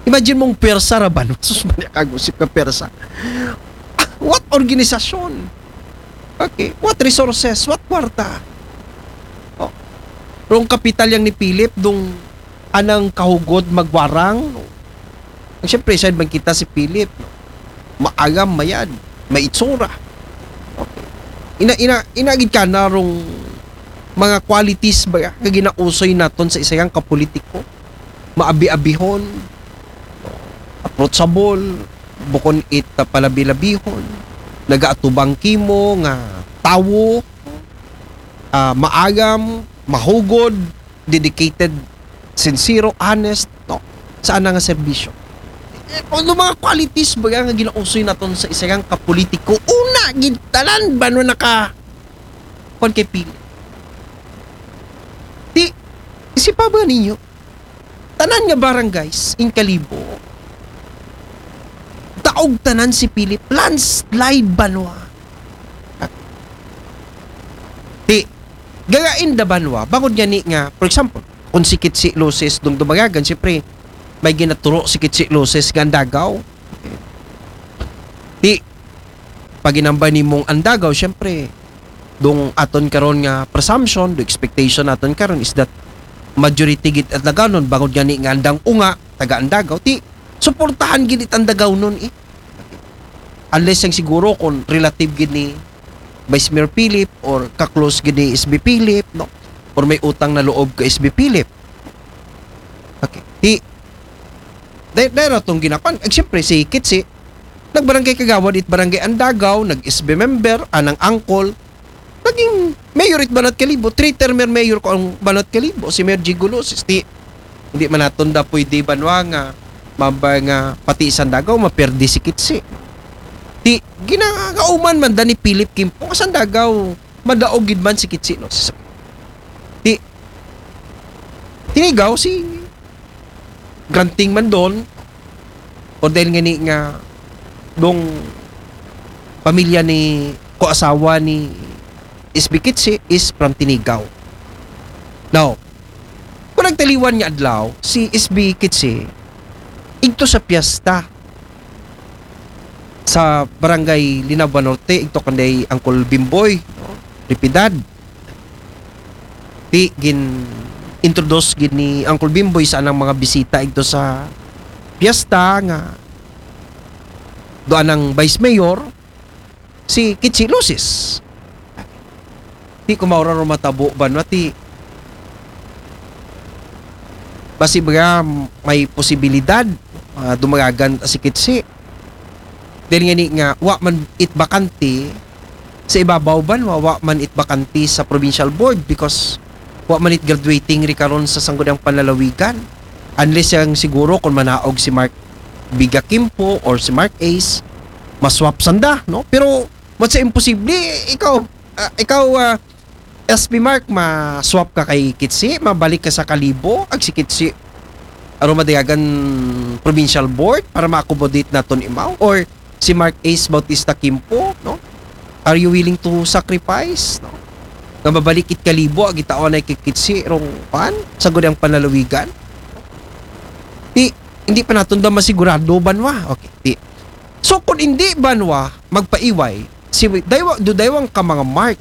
Imagine mong pwersa ra ba, no? Sus, maniya kagusip ka pwersa. What organisasyon? Okay. What resources? What kwarta? Oh. Rong kapital yang ni Philip, dong anang kahugod magwarang, no? Siyempre, side man kita si Philip, no? Maagam, mayad, maitsura. Okay. Ina, ina, ina gid kana rong mga qualities ba nga ginausoy naton sa isayang kapolitiko? Maabi-abihon, approachable, bukon it ah, palabi-labihon, nagaatubang kimo nga tawo, ah, maagam, mahugod, dedicated, sincero, honest, no? Sa ana nga serbisyo. Eh, ano mga qualities ba nga ginausoy naton sa isayang kapolitiko? Una, gid tanan ba no naka kuwan kay Philip? Di, isipa ba ninyo? Tanan nga barangays in Kalibo, daog tanan si Philip, landslide banwa. Di, gagain da banwa, bangod nga ni nga, for example, kung sikit si Lucis dong dumangagan, siyempre, may ginaturo si Kitsi Luces nga andagaw. Ti, pag ginambay nimong andagaw, syempre, dong aton karon nga presumption, do expectation naton karon is that majority gid Andagawnon, bangod gani nga andang unga, taga Andagaw, ti, suportahan gid it Andagawnon, eh. Unless yang siguro kung relative gid ni Vice Mayor Philip or ka-close gid ni S B Philip, no? Or may utang na loob ka S B Philip. Okay. Ti, dahil, dahil tong ginapan, eh, siyempre, si Kitsi, nagbarangay kagawad it barangay Andagaw, nag-S B member, anang angkol, naging mayor it Banat Kalibo, three-termer mayor ko ang Banat Kalibo, si Mayor Jigo Luces. Ti, hindi man naton da pwede banwa nga, mabay nga pati sa Andagaw, maperdi si Kitsi. Ti, ginagauman man da ni Philip Kimpo, sa Andagaw, madaog gid man si Kitsi Luces. Ti, tinigaw si Granting man doon, o dahil nga ni nga dong pamilya ni ko asawa ni S B Kitsi is from Tinigaw. Now, kung nagtaliwan nga adlaw, si S B Kitsi, igto sa piyesta sa barangay Linabua Norte, igto kanday Uncle Bimboy, no? Ripidad. Ti gin-introduce gid ni Uncle Bimboy sa anang mga bisita igto sa piyesta nga do anang Vice Mayor, si Kitsi Luces. Ti kumaura ro matabo banwa ti basi ba may posibilidad, ah, dumagagan si Kitsi. Dahil nga ni nga, wa man it bakante sa ibabaw banwa, wa man it bakante sa provincial board because wa man it graduating ri karon sa Sangguniang Panlalawigan. Unless yang siguro kung manaog si Mark Biga Kimpo or si Mark Ace, maswap sanda, no? Pero, what's imposible, ikaw, ah, ikaw, ah, S P Mark, ma-swap ka kay Kitsi, mabalik ka sa Kalibo, ag si Kitsi, aron madayagan provincial board para ma-accommodate naton imaw, or si Mark Ace Bautista Kimpo, no? Are you willing to sacrifice, no? Nga mabalik it Kalibo, ag itaon ay kay Kitsi, rong pan, sa gudang panlalawigan? Ti, hindi pa naton da masigurado, banwa. Okay, ti. So, kung hindi, banwa, magpaiway, si, daywa, do daywang ka mga Mark,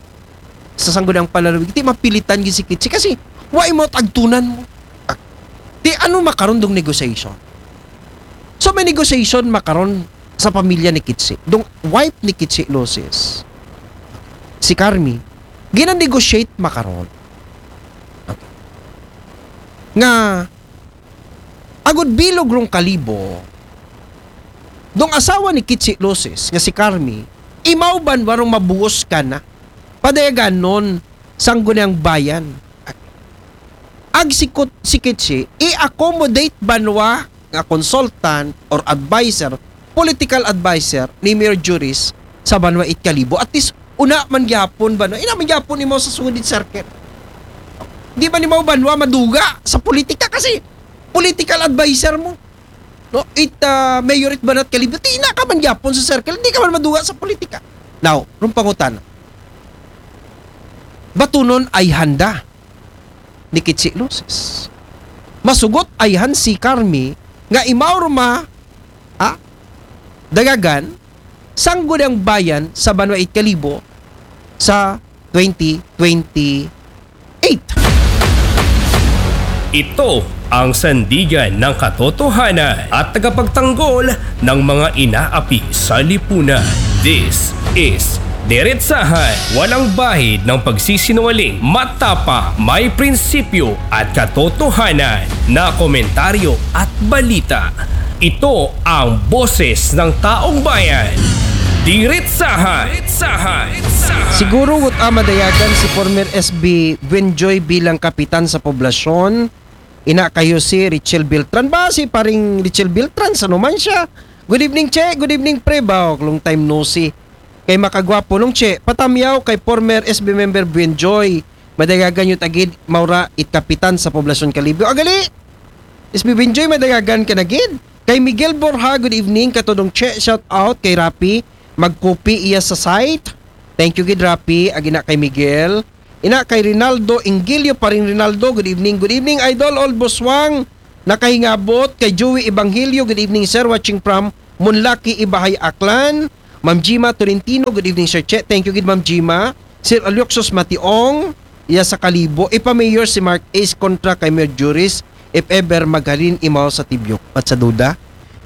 sa Sangguniang Panlalawigan, ti mapilitan gid si Kitsi kasi wa imo agtunan mo. Ah, ti ano makaron dong negotiation? So may negotiation makaron sa pamilya ni Kitsi. Dong wife ni Kitsi Luces, si Carmi, gina-negotiate makaron. Okay. Nga agud bilog rong Kalibo, dong asawa ni Kitsi Luces nga si Carmi, imaw banwa rong mabuos ka na padayaganon Sangguniang Bayan. Ag sikot si Kitsi, i-accommodate banwa nga consultant or advisor, political advisor ni Mayor Juris sa banwa it Kalibo. At least, una man gyapon banwa, ina man gyapon imo sa sugod it circle. Di man imo banwa maduga sa politika kasi political advisor mo. No? It, ah, mayor it Banat Kalibo, ti ina ka man gyapon sa circle, di ka man maduga sa politika. Now, rong pangutan, batunon ay handa ni Kitsi Luces. Masugot ay han si Carmi nga imaw roma, ha? Dagagan, Sangguniang Bayan sa banwa it Kalibo sa twenty twenty-eight. Ito ang sandigan ng katotohanan at tagapagtanggol ng mga inaapi sa lipunan. This is Diretsahan, walang bahid ng pagsisinungaling, matapang, may prinsipyo at katotohanan na komentaryo at balita. Ito ang boses ng taong bayan. Diretsahan. Siguro wut a madayagan si former S B Buenjoy bilang kapitan sa poblasyon. Ina kayo si Richel Beltran. Ba si paring Richel Beltran? Sa numan siya? Good evening, Che. Good evening, Pre. Ba, long time no see. Kay makagwapo nung Che. Patamyaw kay former S B member Buenjoy. Madayagan yun agid, maura it kapitan sa poblasyon Kalibo. Agali! S B Buenjoy, madayagan ka na gid. Kay Miguel Borja, good evening. Katudong Che, shout out kay Rapi. Magkupi iya sa site. Thank you gid, Rapi. Agina kay Miguel. Ina kay Rinaldo Ingilio, paring Rinaldo. Good evening. Good evening, Idol Olboswang. Nakahingabot kay Joey Evangelio, good evening, sir. Watching from Munlaki, Ibahay, Aklan. Ma'am Jima Tolentino, good evening, Sir Che. Thank you gid, Ma'am Jima. Sir Alioxos Mationg, iya sa Kalibo. Ipa-mayor si Mark Ace kontra kay Mayor Juris, if ever maghalin imaw sa Tibyok. Mat sa duda?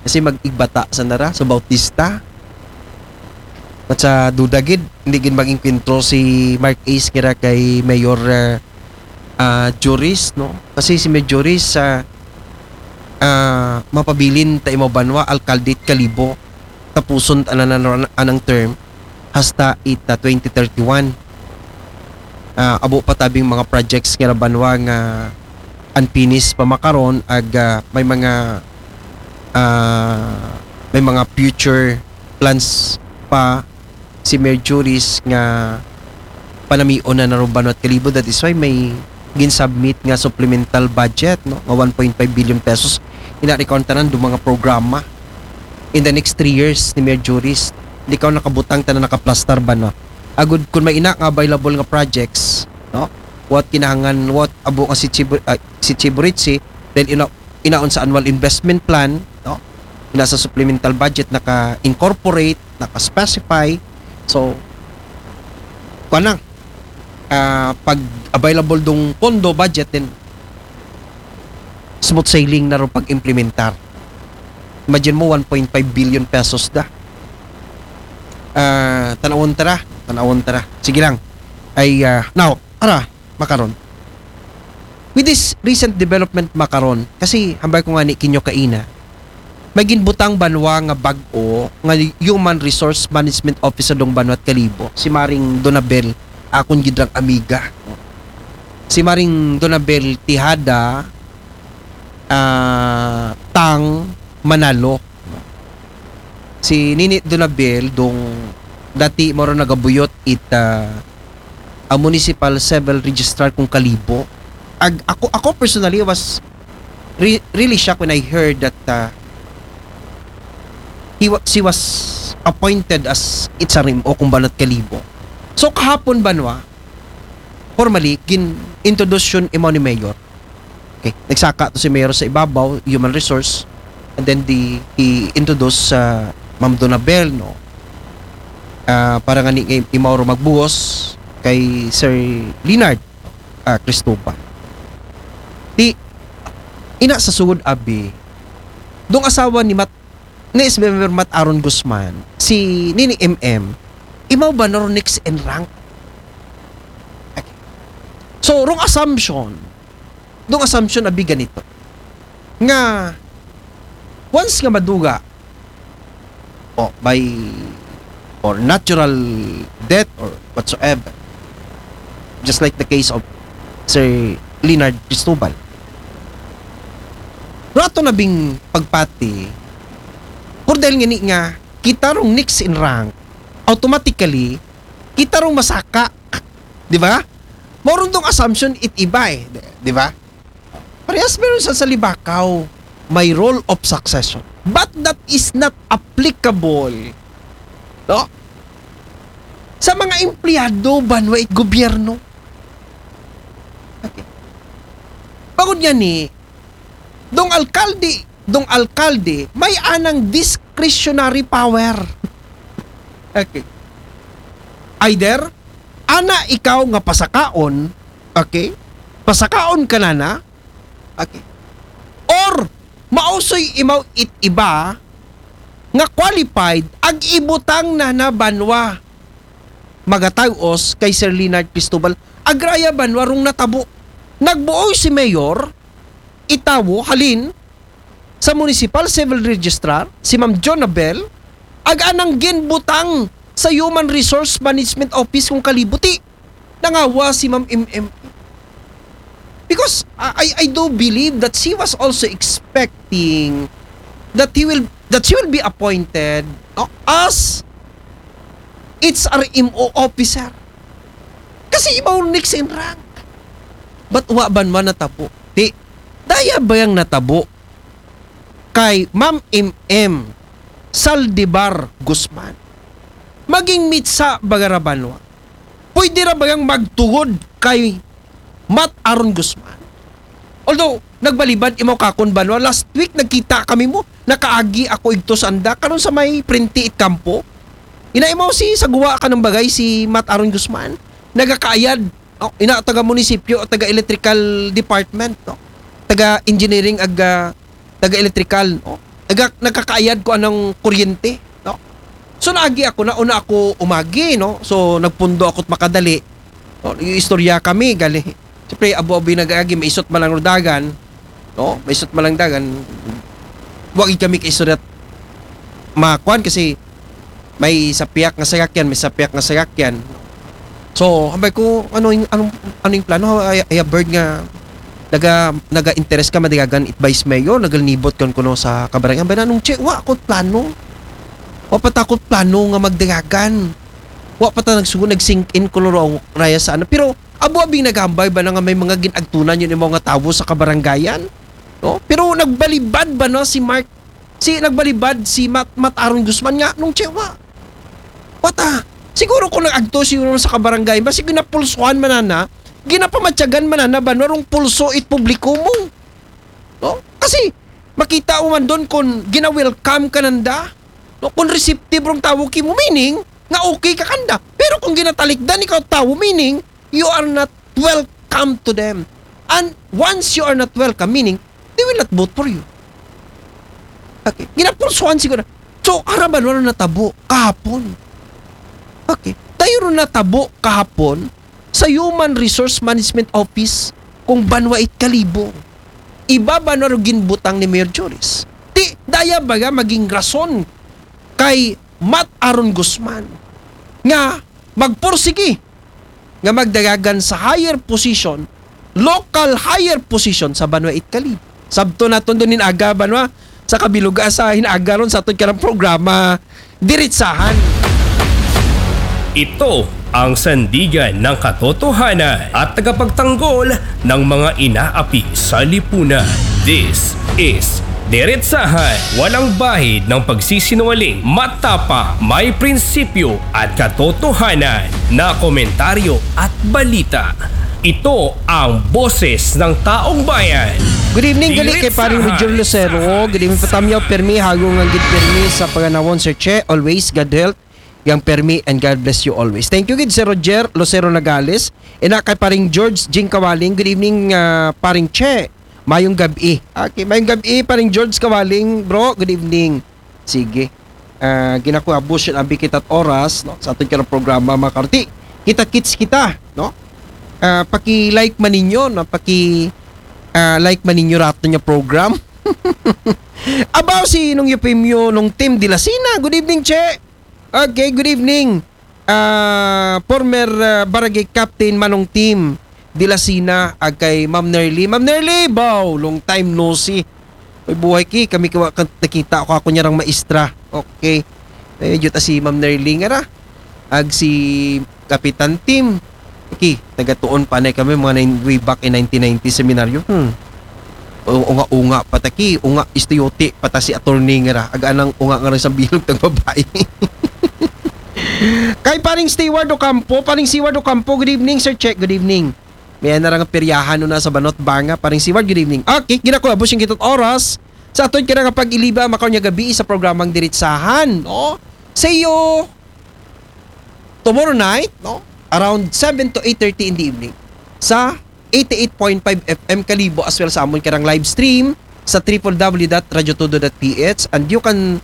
Kasi mag-igbata sa nara, sa Bautista. Mat sa duda gid, hindi gid mag-enkwentro si Mark Ace kira kay Mayor, ah, ah, Juris, no? Kasi si Mayor Juris, ah, ah, mapabilin ta imaw banwa, alkalde it Kalibo. Tapuson ta na, na, na anang term hasta it, ah, twenty thirty-one. Ah, abo pa tabing mga projects nga banwa nga unfinished pa makaron, ag, ah, may mga, ah, may mga future plans pa si Mayor Juris nga panamion na narong banwa it Kalibo. That is why may gin-submit nga supplemental budget, no, nga one point five billion pesos. Ina, recount tanan do mga programa in the next three years ni Mayor Juris. Di ka nakabutang tanan, nakaplastar ba, no? Agud kun may ina nga available nga projects, no? What kinahangan, what abo nga si Chibu-, ah, si Chiburitsi, then ina, inaon sa annual investment plan, no? Ina sa supplemental budget naka-incorporate, naka-specify. So, kuan lang, ah, pag available dong pondo, budget, then smooth sailing na ron pag-implementar. Imagine mo, one point five billion pesos da. Ah, tanawon tara, tanawon tara. Sige lang. Ay, ah, now, ara, makaron. With this recent development makaron, kasi hambal ko nga ni kinyo kaina, may ginbutang banwa nga bag-o nga Human Resource Management Officer dong banwa it Kalibo, si Maring Donabel, akon gidrang amiga. Si Maring Donabel Tejada, ah, Tang Manalo. Si Nini Donabel dong dati maro nagabuyot it, ah, a municipal civil registrar kong Kalibo. Ag-, ako, ako personally was re-, really shocked when I heard that, ah, he wa-, she was appointed as H R M O kong banwa it Kalibo. So, kahapon banwa, formally, gin-introduce yun imaw ni Mayor. Okay. Nagsaka to si Mayor sa ibabaw, human resource, and then di, i-introduce sa Ma'am Donabel, no? Ah, para nga ni, kay imaw ro magbuhos kay Sir Leonard, ah, Cristobal. Di, ina sa sugod abi, dong asawa ni Mat-, ni S B member Mat Aaron Guzman, si Nini M M, imaw ba na ro next in rank? Okay. So, wrong assumption. Dong assumption abi ganito. Nga, once nga maduga, o by, or natural death or whatsoever, just like the case of Sir Leonard Cristobal, rato na bing pagpati, por dahil nga ni nga, kita rong next in rank, automatically, kita rong masaka. Di ba? Mao ron dong assumption it iba eh. Di, di ba? Parehas meron sa, sa Libacao, may role of succession. But that is not applicable, no? Sa mga empleyado, banwa it gobyerno. Okay. Bangod nga ni, dong alkalde, dong alkalde, may anang discretionary power. Okay. Either, ana ikaw nga pasakaon, okay? Pasakaon ka na na, okay? Or, mausoy imaw it iba nga qualified, ag ibutang na na banwa. Magatawos kay Sir Leonard Cristobal, agraya banwa rong natabo. Nagbuoy si Mayor, itawo, halin, sa Municipal Civil Registrar, si Ma'am Jonabel, ag anang ginbutang sa Human Resource Management Office kong Kalibo ti nangawa si Ma'am M M. Because I, I, I do believe that she was also expecting that he will, that she will be appointed, no, as H R M O officer. Kasi imaw next in rank. But wa banwa natabo? Ti, daya bayang natabo kay Ma'am M M Saldivar Guzman? Maging mitsa baga ra banwa? Pwede ra bayang magtugod kay Mat Aaron Guzman? Although, nagbalibad imaw kakon banwa. Last week, nagkita kami mo. Nakaagi ako igto sa anda. Karon sa may Printi it Campo. Ina imaw si sa guwa ka ng bagay, si Matt Aaron Guzman. Nagakaayad. Oh, ina taga munisipyo, taga electrical department, no? Taga engineering, ag, ah, taga electrical, no? Taga, nagkakaayad ko anang kuryente, no? So, naagi ako na, una ako umagi, no? So, nagpundo ako't makadali. No? Yung istorya kami, gali. Siyempre, abo-abi nag-agi, maisot man lang dagan, no? Maisot man lang dagan. Wag kami kaistorya makuan kasi may sapiak nga sayakyan, may sapiak nga sayakyan. So, hambay ko, ano yung, anong, ano yung plano? Ay, ay, bird nga, naga, naga-interest ka, madigagan it vice mayor, nagalnibot kan kuno sa kabarangay. Hambay na, nung che, wa ko plano. Wa pa takot plano nga magdigagan. Wa pa ta nagsugo, nag-sink in kuno raw, raya sa ano. Pero, abo-abing naghambay ba na nga may mga ginagtunan yun yung mga tawo sa kabarangayan? No? Pero nagbalibad ba na si Mark, si nagbalibad si Mat, Mat Aaron Guzman nga, nung che, wa. Wa ta. Siguro kung nag-agto siguro sa kabarangay, basi ginapulsuhan man na, ginapamatyagan man na, ba, narong pulso it publiko mo. No? Kasi, makita mo man doon kung gina-welcome ka nanda, no? Kung receptive rong tawo kimo, meaning, nga okay ka kanda. Pero kung ginatalikdan ikaw tawo, meaning, you are not welcome to them. And once you are not welcome, meaning, they will not vote for you. Okay. Ginapulsuhan siguro. So, ara ba, wala natabo kahapon. Okay. Tayo ron natabo kahapon sa Human Resource Management Office kung banwa it Kalibo. Iba banwa ro ginbutang ni Mayor Joris. Ti, daya baga maging rason kay Mat Aaron Guzman nga magpursigi nga magdagagan sa higher position, local higher position sa banwa it Kalibo. Sabto naton doon in aga banwa sa kabiluga sa hinaga ron sa aton karang programa, Diritsahan. Ito ang sandigan ng katotohanan at tagapagtanggol ng mga inaapi sa lipunan. This is Diretsahan, walang bahid ng pagsisinungaling, matapang, may prinsipyo at katotohanan na komentaryo at balita. Ito ang boses ng taong bayan. Good evening, gali kay paring Roger Lucero. Good evening, patamyaw, permi, hago nga gid permi sa paganawon, Sir Che. Always, God help. Yang permi and God bless you always. Thank you gid, Sir Roger Lucero Nagales. Ina kay paring George Jing Kawaling. Good evening, ah, paring Che. Mayong gabi. Okay, mayong gabi, paring George Kawaling, bro. Good evening. Sige. Ah, ginakuha bush abi kita't oras, no? Sa aton karong programa, mga karti. Kita kits kita, no? Ah, paki-like man ninyo, no? Paki ah, like man ninyo rato niya program. Abaw si Nung Eufemio nung Team Dilasina. Good evening, Che. Okay, good evening. Ah, former ah, barangay captain Manong Team Dilasina, ag kay Ma'am Nerly. Ma'am Nerly, bow, long time no see. Ay, buhay ki, kami kawa kan- nakita ko ako niya rang maestra. Okay. Eh, jud ta si Ma'am Nerly nga ra. Ag si Kapitan Team. Ki, nagatuon pa na kami mga nine, way back in nineteen ninety seminaryo. Hmm. O- Unga-unga pa ta ki, unga istuyote pa ta si attorney nga ra. Ag anang unga nga ra sa bilog tag babae. Kay paring Steward Ocampo, paring Steward Ocampo, good evening, Sir Check, good evening. May na nga peryahan no na sa Banot Banga, paring Steward, good evening. Okay, ginakuha, busing kita't oras. Sa aton kira nga pag-iliba, makaw niya gabi sa programang Diritsahan, no? See you tomorrow night, no? Around seven to eight thirty in the evening. Sa eighty-eight point five F M Kalibo, as well sa amon karang live stream sa triple W dot radyo todo dot P H, and you can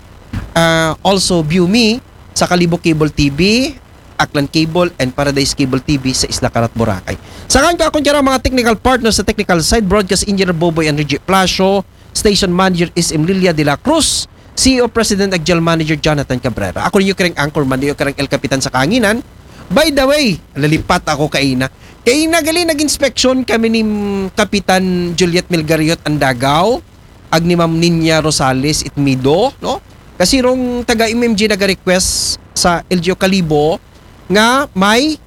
uh, also view me sa Kalibo Cable T V, Aklan Cable, and Paradise Cable T V sa Isla Carat, Boracay. Sa kan ko akong tiyara mga technical partners sa technical side, broadcast engineer Boboy and Reggie Plasio, station manager is Emilia de la Cruz, C E O President ag General Manager Jonathan Cabrera. Ako ninyo karang anchorman, ninyo karang El Capitan sa Kahanginan. By the way, lalipat ako kaina. Kaina gali nag-inspeksyon kami ni mm, Kapitan Juliet Melgariot Andagaw, ag ni Ma'am Ninya Rosales Itmido, no? Kasi rong taga M M G naga-request sa L G U Kalibo nga may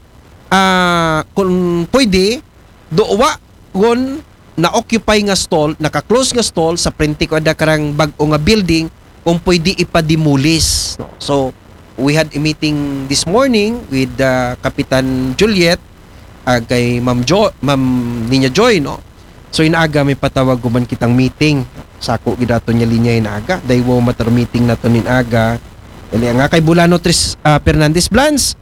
ah, kung pwede, duwa gon na-occupy nga stall, naka-close nga stall sa prente ko ada karang bag-o nga building, kung pwede ipa-demolish, no? So, we had a meeting this morning with uh, Kapitan Juliet, ah, kay Ma'am Jo, Ma'am Ninya Joy, no? So in aga may patawag guman kitang meeting. Sako gid aton nga linya in aga. Daywa matter meeting naton in aga. Dali nga kay Bulano Tris ah, Fernandez Blans.